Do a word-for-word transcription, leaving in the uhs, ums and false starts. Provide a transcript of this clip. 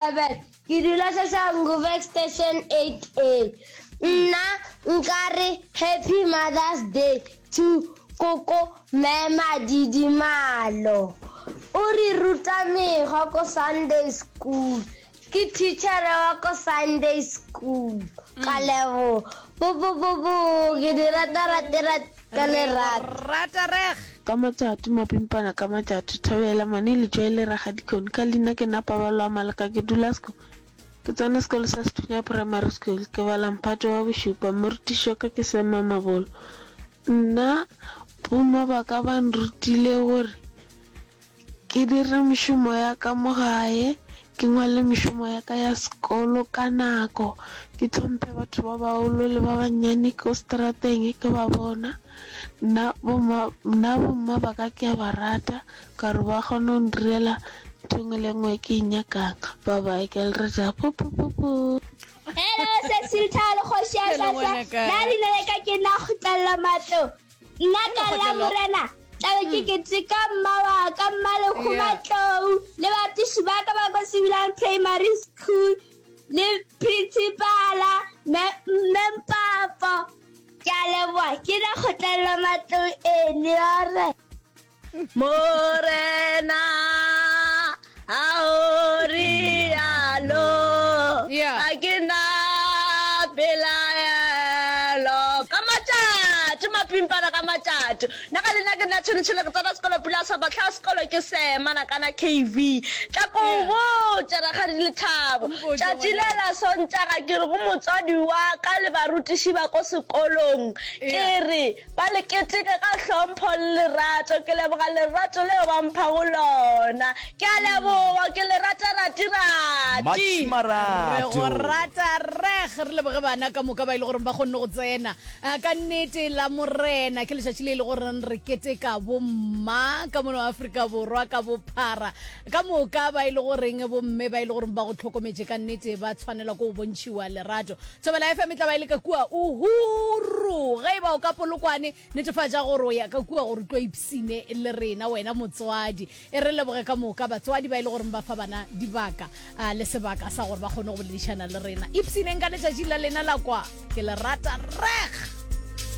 Seven. Ke dula Soshanguve Extension eight A. Nna nkare Happy Mother's Day to Koko Mme Madidimalo. O re ruta mekgwa ko Sunday school. Ke teachere wa ko Sunday school. Ka leboga. Bo bo bo bo ke di rata rate rate ka lerato. Rata reg. Ka matšatši, mapimpana ka matšatši, Thobela, Mane Letšwai le Rakgadikone. Ka leina ke nna Paballo wa Maleka, ke dula seko Ke tsena sekolo sa Sethunya Primary School, ke bala mphato wa bošupa. Morutiši wa ka ke Sam Mamabolo. Nna bomma ba ka ba nrutile gore ke dire mešomo ya ka mo gae, ke ngwale mešomo ya ka ya sekolo ka nako, ke hlomphe batho ba bagolo le ba bannyane ko seterateng ke ba bona. Nna bomma, nna bomma ba ka ke a ba rata ka gore ba kgona go ndirela ntho e nngwe le e nngwe e ke e nyakang. Bye bye, ke a le rata. Pu pu pu pu. Hello Cecil Thalo kgoši ya Hello, Sasa ngwanaka. nna leina la ka ke nna Kgotlello Matlo nna ka la Kgotlello. morena tlabe ke keteka mma wa ka mma Lekgo Yeah. Matlou le batiši ba ka ba ko Sebilang Primary School le principala mme mme Mpapo ke a leboga ke nna Kgotlello Matlou ene ore Morena a o rialo Yeah. ga ke na pelaelo ka matšatši mapimpana ka matšatši nna ka leina ke nna tšhone-tšhone ke tsena sekolo pula sa bahla sekolo ke sema nakana K V tla ko Yeah. botša rakgadi Lethabo Mpotše tšatši le ngwanaka. la Sontaga ke re go motswadi wa ka le barutiši ba ko sekolong ke Yeah. re Ba le keteke ka hlompho le lerato. Ke leboga lerato leo ba mphago lona. Ke a leboga, ke le rata rati-rati. Re go Marato. rata reg. Re leboge bana ka moka ba e le goreng ba kgonne go tsena. Ah, Ka nnete la Morena ke letšatši le e le goreng re keteka bomma ka mono Afrika Borwa ka bophara. Ka moka ba e le goreng bomme ba e le goreng ba go hlokometše ka nnete ba tshwanelwa ke go bontšhiwa lerato. Thobela F M e tla ba e le ka kua Uhuru. Ge e ba o ka Polokwane, netefatša gore o ya ka kua gore o tlo ipsine le rena wena motswadi. E re leboge ka moka batswadi ba e le goreng ba fa bana dibaka le sebaka sa gore ba kgone go boledišana le rena. Ipsineng ka letšatši la lena la kwa. Ke le rata reg!